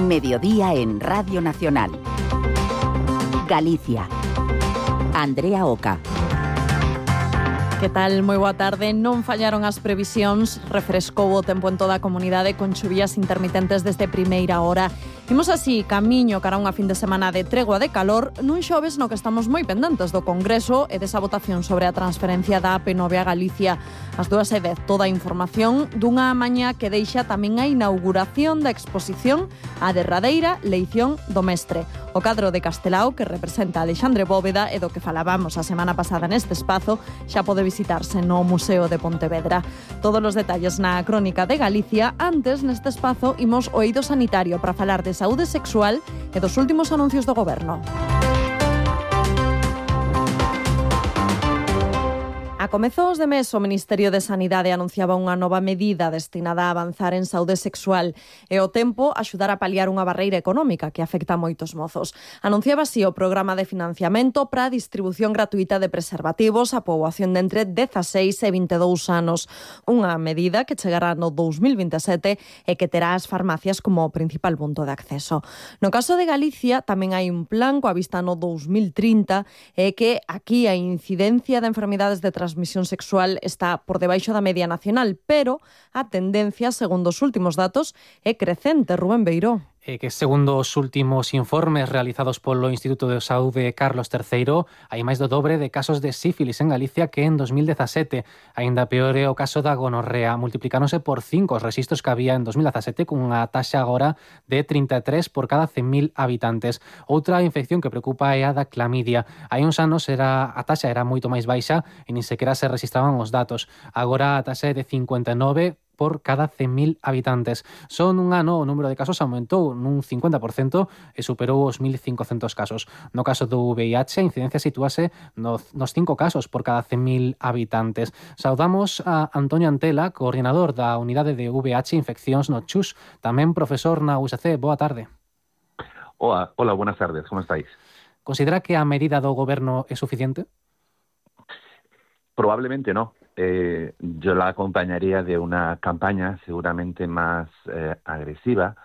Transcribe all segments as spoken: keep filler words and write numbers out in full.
Mediodía en Radio Nacional. Galicia. Andrea Oca. Que tal? Moi boa tarde. Non fallaron as previsións, refrescou o tempo en toda a comunidade con chuvías intermitentes desde primeira hora. Imos así camiño cara a unha fin de semana de tregua de calor nun xoves no que estamos moi pendentes do Congreso e desa votación sobre a transferencia da A P nove a Galicia. As dúas e dez toda a información dunha mañá que deixa tamén a inauguración da exposición a derradeira leición do mestre. O cadro de Castelao que representa a Alexandre Bóveda e do que falábamos a semana pasada neste espazo xa pode visitarse no Museo de Pontevedra. Todos os detalles na crónica de Galicia. Antes, neste espazo, imos o eido sanitario para falar de saúde sexual e dos últimos anuncios do Goberno. A comezos de mes, o Ministerio de Sanidade anunciaba unha nova medida destinada a avanzar en saúde sexual e ao tempo axudar a paliar unha barreira económica que afecta a moitos mozos. Anunciaba así o programa de financiamento para a distribución gratuita de preservativos á poboación de entre dezaseis e vinte e dous anos. Unha medida que chegará no dous mil vinte e sete e que terá as farmacias como principal punto de acceso. No caso de Galicia, tamén hai un plan coa vista no dous mil trinta e que aquí a incidencia de enfermidades de transmisión transmisión sexual está por debaixo da media nacional, pero a tendencia, segundo os últimos datos, é crecente. Rubén Beiró. Eh, que segundo os últimos informes realizados polo Instituto de Saúde Carlos terceiro, hai máis do dobre de casos de sífilis en Galicia que en dos mil dezasete. Aínda peor é o caso da gonorrea. Multiplicáronse por cinco os rexistros que había en dos mil dezasete, cunha taxa agora de trinta e tres por cada cen mil habitantes. Outra infección que preocupa é a da clamidia. Hai uns anos era, a taxa era moito máis baixa e nin sequera se registraban os datos. Agora a taxa é de cincuenta e nove por cada cen mil habitantes. Só nun ano o número de casos aumentou nun cincuenta por cento e superou os mil cincocentos casos. No caso do V I H, a incidencia sitúase nos, nos cinco casos por cada cen mil habitantes. Saudamos a Antonio Antela, coordinador da Unidade de V I H Infeccións no Chus, tamén profesor na U S C. Boa tarde. Hola, hola, buenas tardes, como estáis? Considera que a medida do Goberno é suficiente? Probablemente no. Eh, yo la acompañaría de una campaña seguramente más eh, agresiva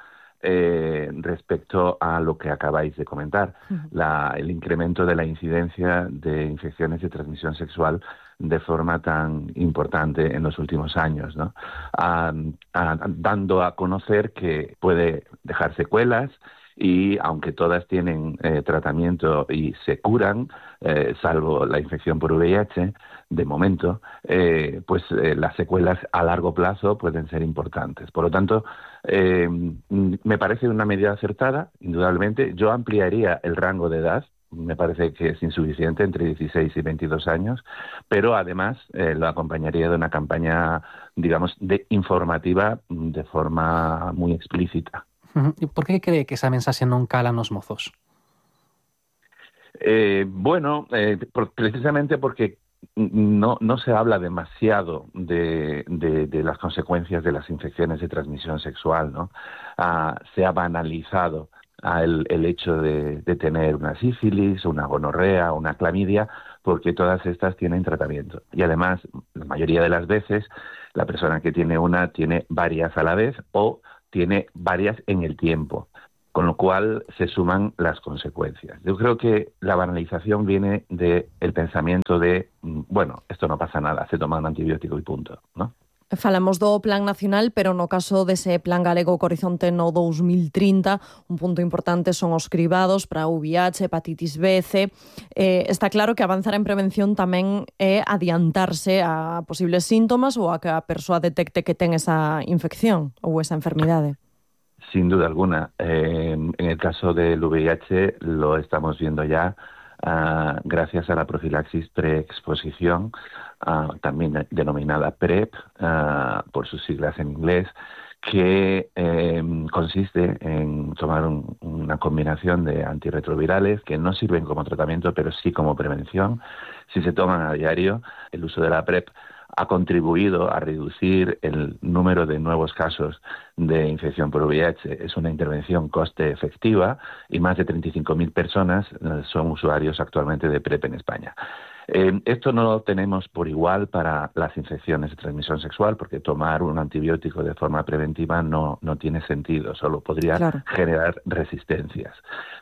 eh, respecto a lo que acabáis de comentar, uh-huh. la, el incremento de la incidencia de infecciones de transmisión sexual de forma tan importante en los últimos años, ¿no? Ah, ah, dando a conocer que puede dejar secuelas y aunque todas tienen eh, tratamiento y se curan, eh, salvo la infección por V I H, de momento, eh, pues eh, las secuelas a largo plazo pueden ser importantes. Por lo tanto, eh, me parece una medida acertada, indudablemente. Yo ampliaría el rango de edad, me parece que es insuficiente, entre dieciséis y veintidós años, pero además eh, lo acompañaría de una campaña, digamos, de informativa de forma muy explícita. E por que cree que esa mensaxe non cala nos mozos? Eh, bueno, eh, por, precisamente porque no, no se habla demasiado de, de, de las consecuencias de las infecciones de transmisión sexual, ¿no? Ah, se ha banalizado ah, el, el hecho de, de tener una sífilis, una gonorrea, una clamidia, porque todas estas tienen tratamiento. Y además, la mayoría de las veces, la persona que tiene una tiene varias a la vez o tiene varias en el tiempo, con lo cual se suman las consecuencias. Yo creo que la banalización viene del pensamiento de, bueno, esto no pasa nada, se toma un antibiótico y punto, ¿no? Falamos do Plan Nacional, pero no caso dese Plan Galego co horizonte no dous mil trinta, un punto importante son os cribados para V I H, hepatitis B, C. Eh, está claro que avanzar en prevención tamén é adiantarse a posibles síntomas ou a que a persoa detecte que ten esa infección ou esa enfermidade. Sin duda alguna. Eh, en el caso del V I H lo estamos viendo ya uh, gracias a la profilaxis preexposición, Uh, también denominada PrEP, uh, por sus siglas en inglés, que eh, consiste en tomar un, una combinación de antirretrovirales que no sirven como tratamiento, pero sí como prevención. Si se toman a diario, el uso de la PrEP ha contribuido a reducir el número de nuevos casos de infección por V I H. Es una intervención coste efectiva y más de treinta y cinco mil personas son usuarios actualmente de PrEP en España. Eh, esto no lo tenemos por igual para las infecciones de transmisión sexual, porque tomar un antibiótico de forma preventiva no, no tiene sentido, solo podría claro. generar resistencias.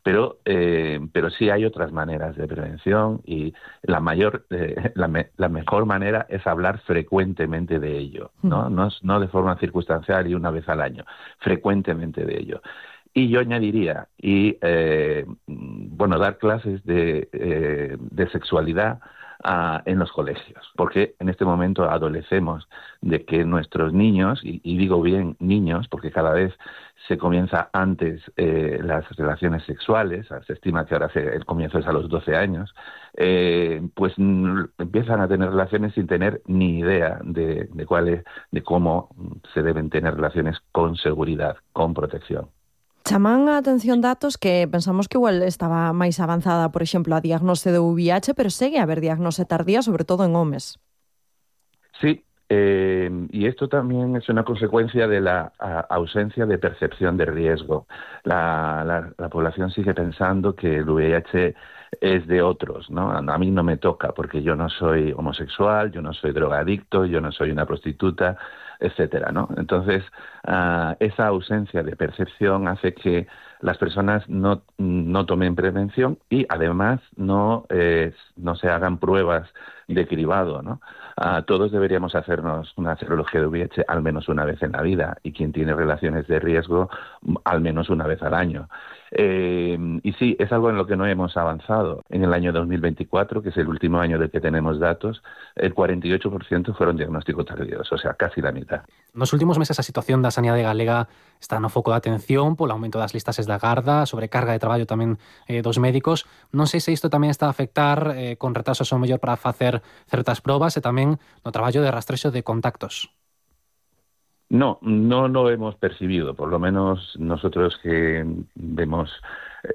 Pero, eh, pero sí hay otras maneras de prevención y la mayor, eh, la, me, la mejor manera es hablar frecuentemente de ello, ¿no? No, no de forma circunstancial y una vez al año, frecuentemente de ello. Y yo añadiría, y eh, bueno, dar clases de, eh, de sexualidad a, en los colegios, porque en este momento adolecemos de que nuestros niños, y, y digo bien niños, porque cada vez se comienza antes eh, las relaciones sexuales, se estima que ahora se, el comienzo es a los doce años, eh, pues m, empiezan a tener relaciones sin tener ni idea de, de, cuál es, de cómo se deben tener relaciones con seguridad, con protección. Chaman a atención datos que pensamos que igual estaba máis avanzada, por exemplo, a diagnose de U V I H, pero segue a haber diagnose tardía, sobre todo en homes. Sí, eh, y esto también es una consecuencia de la a, ausencia de percepción de riesgo. La, la, la población sigue pensando que el V I H es de otros, ¿no? A mí no me toca porque yo no soy homosexual, yo no soy drogadicto, yo no soy una prostituta, etcétera, ¿no? Entonces, uh, esa ausencia de percepción hace que las personas no, no tomen prevención y además no, eh, no se hagan pruebas de cribado, ¿no? Uh, todos deberíamos hacernos una serología de V I H al menos una vez en la vida y quien tiene relaciones de riesgo al menos una vez al año. Eh, y sí, es algo en lo que no hemos avanzado. En el año dos mil veinticuatro, que es el último año del que tenemos datos, el cuarenta y ocho por ciento fueron diagnósticos tardíos, o sea, casi la mitad. Nos últimos meses a situación da sanidade galega está no foco de atención polo aumento das listases da garda, sobrecarga de traballo tamén eh, dos médicos. Non sei se isto tamén está a afectar eh, con retrasos ao mellor para facer certas probas e tamén no traballo de rastrexo de contactos. No, no lo hemos percibido, por lo menos nosotros que vemos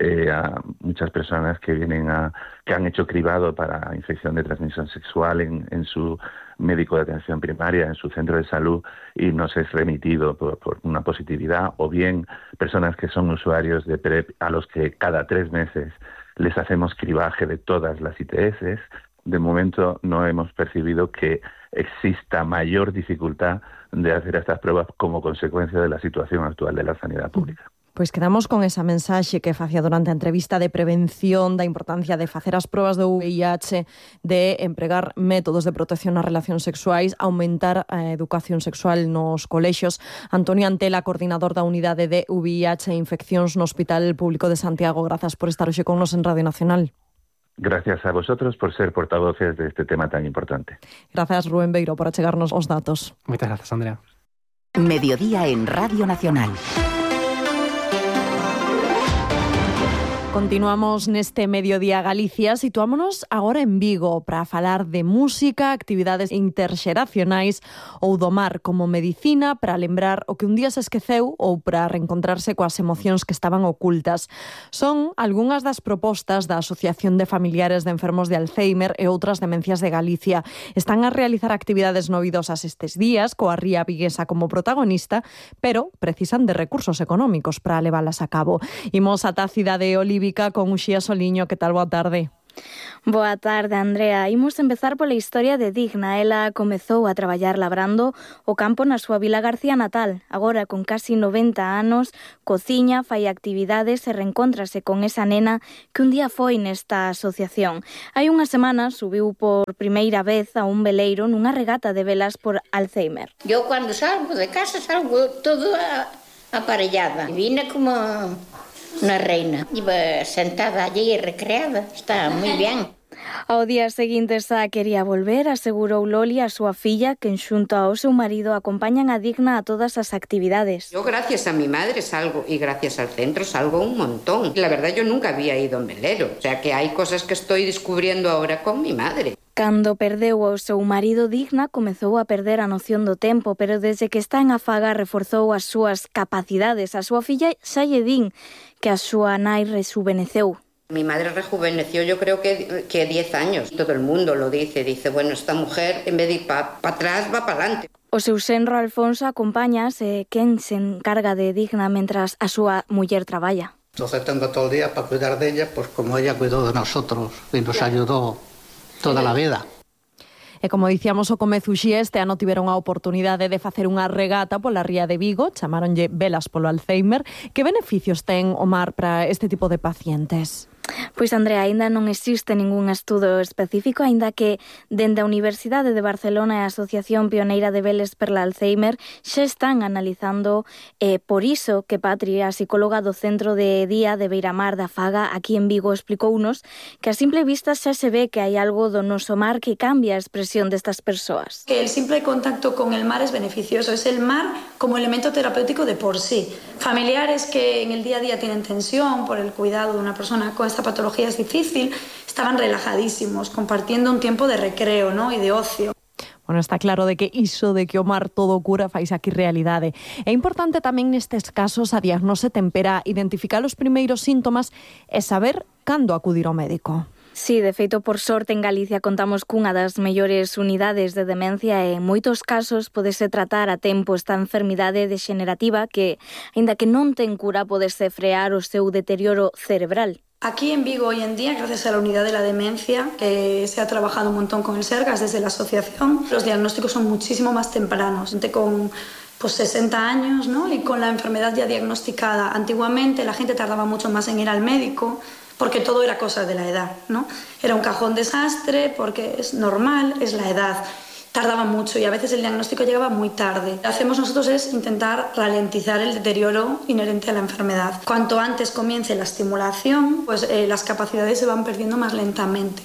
eh, a muchas personas que vienen a que han hecho cribado para infección de transmisión sexual en, en su médico de atención primaria, en su centro de salud, y nos es remitido por, por una positividad, o bien personas que son usuarios de PrEP a los que cada tres meses les hacemos cribaje de todas las I T S. De momento no hemos percibido que exista mayor dificultad de hacer estas pruebas como consecuencia de la situación actual de la sanidad pública. Pois quedamos con esa mensaxe que facía durante a entrevista de prevención da importancia de facer as probas do V I H, de empregar métodos de protección nas relacións sexuais, aumentar a educación sexual nos colexios. Antonio Antela, coordinador da unidade de V I H e infeccións no Hospital Público de Santiago, grazas por estar hoxe con nos en Radio Nacional. Gracias a vosotros por ser portavoces de este tema tan importante. Gracias, Rubén Beiro, por achegarnos os datos. Moitas gracias, Andrea. Mediodía en Radio Nacional. Continuamos neste Mediodía Galicia, situámonos agora en Vigo para falar de música, actividades interxeracionais ou do mar como medicina para lembrar o que un día se esqueceu ou para reencontrarse coas emocións que estaban ocultas. Son algunhas das propostas da Asociación de Familiares de Enfermos de Alzheimer e outras demencias de Galicia. Están a realizar actividades novidosas estes días, coa ría viguesa como protagonista, pero precisan de recursos económicos para leválas a cabo. Imos ata a cidade de Olivia con Uxía Soliño. Que tal? Boa tarde. Boa tarde, Andrea. Imos empezar pola historia de Digna. Ela comezou a traballar labrando o campo na súa vila García natal. Agora, con casi noventa anos, cociña, fai actividades e reencóntrase con esa nena que un día foi nesta asociación. Hai unha semana subiu por primeira vez a un veleiro nunha regata de velas por Alzheimer. Eu, cando salgo de casa, salgo todo aparellada. Vine como una reina. Iba sentada allí e recreada. Está moi ben. Ao día seguinte xa quería volver, asegurou Loli a súa filla, que xunto ao seu marido acompañan a Digna a todas as actividades. Yo gracias a mi madre salgo y gracias al centro salgo un montón. La verdad yo nunca había ido en velero, o sea que hay cosas que estoy descubriendo ahora con mi madre. Cando perdeu o seu marido, Digna comezou a perder a noción do tempo, pero desde que está en Afaga reforzou as súas capacidades. A súa filla xa lle din que a súa nai rejuveneceu. Mi madre rejuveneció, yo creo que, que diez años. Todo el mundo lo dice, dice, bueno, esta mujer en vez de ir para pa atrás va para adelante. O seu senro Alfonso acompañas e quen se encarga de Digna mentras a súa muller traballa. Entonces tengo todo el día para cuidar de ella, pues como ella cuidó de nosotros y nos ayudó toda a vida. E como dicíamos o comezo xe, este ano tiveron a oportunidade de facer unha regata pola ría de Vigo, chamaronlle Velas polo Alzheimer. Que beneficios ten o mar para este tipo de pacientes? Pois, Andrea, aínda non existe ningún estudo específico, aínda que dende a Universidade de Barcelona e a Asociación Pioneira de Veles perla Alzheimer xa están analizando eh, por iso que Patri, a psicóloga do Centro de Día de Beiramar da Faga aquí en Vigo, explicounos que a simple vista xa se ve que hai algo do noso mar que cambia a expresión destas persoas. Que el simple contacto con el mar es beneficioso, es el mar como elemento terapéutico de por sí. Familiares que en el día a día tienen tensión por el cuidado de una persona con esta patología es difícil, estaban relajadísimos, compartiendo un tiempo de recreo, ¿no? Y de ocio. Bueno, está claro de que iso de que o mar todo cura fais aquí realidade. É importante tamén nestes casos a diagnose tempera, identificar os primeiros síntomas e saber cando acudir ao médico. Sí, de feito, por sorte, en Galicia contamos cunha das mellores unidades de demencia e en moitos casos podese tratar a tempo esta enfermidade degenerativa que, aínda que non ten cura, podese frear o seu deterioro cerebral. Aquí en Vigo hoy en día, gracias a la unidad de la demencia, que se ha trabajado un montón con el SERGAS desde la asociación, los diagnósticos son muchísimo más tempranos, gente con pues sesenta años, ¿no? Y con la enfermedad ya diagnosticada. Antiguamente la gente tardaba mucho más en ir al médico porque todo era cosa de la edad, ¿no? Era un cajón desastre porque es normal, es la edad. Tardaba mucho y a veces el diagnóstico llegaba muy tarde. Lo que hacemos nosotros es intentar ralentizar el deterioro inherente a la enfermedad. Cuanto antes comience la estimulación, pues eh, las capacidades se van perdiendo más lentamente.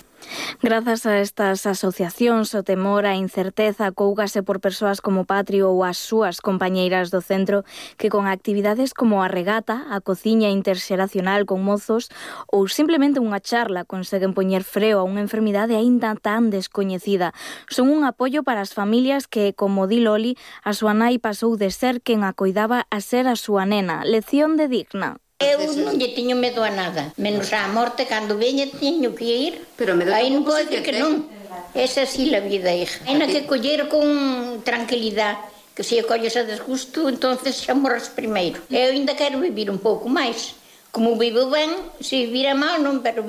Grazas a estas asociacións, o temor, a incerteza cougase por persoas como Patri ou as súas compañeiras do centro que con actividades como a regata, a cociña interxeracional con mozos ou simplemente unha charla conseguen poñer freo a unha enfermidade aínda tan descoñecida. Son un apoio para as familias que, como di Loli, a súa nai pasou de ser quen a coidaba a ser a súa nena. Lección de Digna. Eu non lle tiño medo a nada, menos á morte, cando veña tiño que ir. Pero medo aí non pode que, que non. Esa sí la vida, hija. Hai que coller con tranquilidade, que se colles a desgusto, entonces xa morres primeiro. Eu ainda quero vivir un pouco máis. Como vivo ben, se vivira mal non, pero vivo